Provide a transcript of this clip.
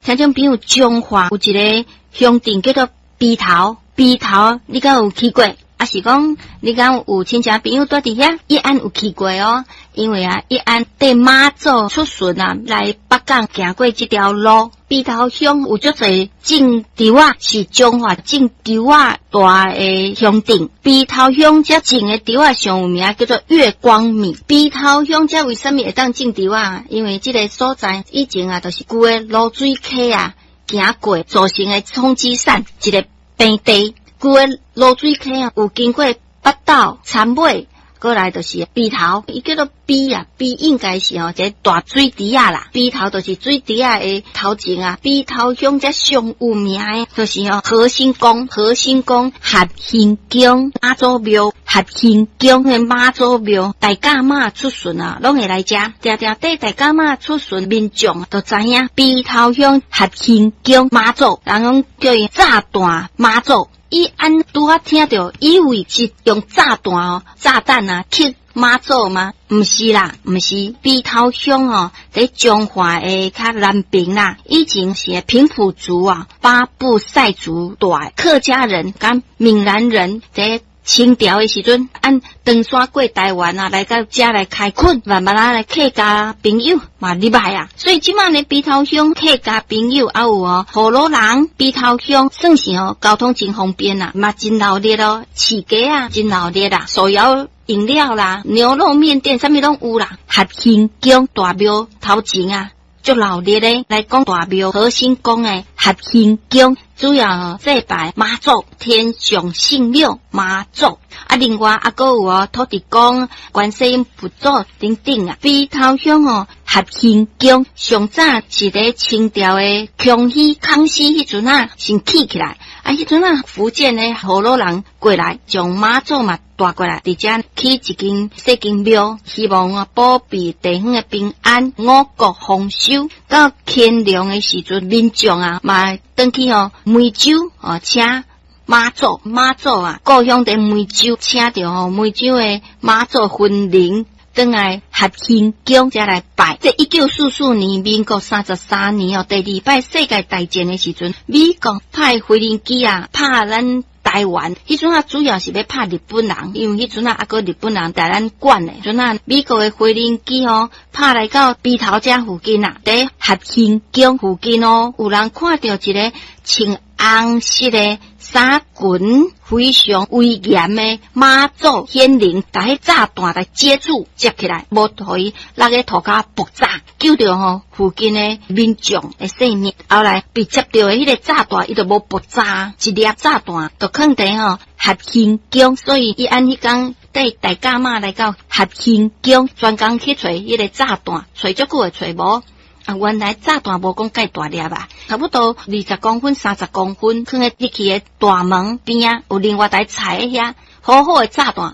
聽眾朋友，彰化有一个鄉鎮叫做埤頭，埤頭你敢有去過？抑是講你敢有親戚朋友蹛佇遐？一安有去過哦，因為啊，一安綴媽祖出巡啊，來北港行過這條路。埤頭鄉有足濟種稻仔，是彰化種稻仔大的鄉鎮。埤頭鄉遮種的稻仔上有名，叫做月光米。埤頭鄉遮為啥物會當種稻仔？因為這个所在以前啊，就是舊的蘆水溪啊，行過造成的沖積扇一个平地。舊的蘆水溪啊，有經過北斗、杉尾，過來就是埤頭，伊叫做埤啊，埤應該是吼一个大水池仔啦。埤頭就是水池仔的頭前啊。埤頭鄉遮上有名的，就是吼和興宮、和興宮、合興宮、媽祖廟、合興宮的媽祖廟，大甲媽出巡啊，攏會來遮。定定綴大甲媽出巡，民眾都知影埤頭鄉合興宮媽祖，人講叫伊炸彈媽祖。伊按拄仔聽著，以為是用炸彈哦，炸彈啊，去媽祖嗎？毋是啦，毋是。埤頭鄉哦，佇彰化的較南邊啦。以前是平埔族啊，巴布賽族蹛客家人佮閩南人佇清朝的時陣，按唐山過台灣啊，來到遮來開墾，慢慢仔來客家朋友嘛入來啊。所以這馬呢，埤頭鄉客家朋友猶有哦，河洛人，埤頭鄉算是哦，交通真方便啦，嘛真鬧熱哦，市街啊真鬧熱啦，手搖飲料啦，牛肉麵店啥物攏有啦。合興宮大廟頭前啊，足鬧熱的來講大廟和興宮的合興宮，主要祭拜媽祖、天上聖母媽祖。啊，另外啊，閣有哦土地公、觀世音佛祖等等啊。埤頭鄉哦，合興宮上早是佇清朝的康熙、康熙彼陣啊，先起起來。啊，彼陣啊，福建的河洛人過來，將媽祖嘛帶過來，佇遮起一間細間廟，希望啊保庇地方的平安、五穀豐收。到乾隆的時陣，民眾啊嘛轉去哦梅州哦請媽祖，媽祖啊，故鄉佇梅州，請著吼梅州的媽祖魂靈轉來合興宮遮來拜。這1944年，民國33年哦，第二擺世界大戰的時陣，美國派飛行機啊，拍咱台灣。彼陣啊，主要是欲拍日本人，因為彼陣啊，猶閣日本人佇咱管的。陣啊，美國的飛行機吼，拍來到埤頭遮附近啊，佇合興宮附近哦，有人看著一个穿紅色的衫裙，非常威嚴的媽祖顯靈，共彼炸彈來接住，接起來，無予伊落咧塗跤爆炸，救著吼附近的民眾的性命。後來被接著的彼个炸彈，伊就無爆炸，一粒炸彈就囥佇吼合興宮，所以伊按彼工綴大甲媽來到合興宮，專工去揣彼个炸彈，揣足久會揣無。啊，原來炸彈無講蓋大粒啊，差不多20公分、30公分，囥佇入去的大門邊仔，有另外台踩遐，好好的炸彈。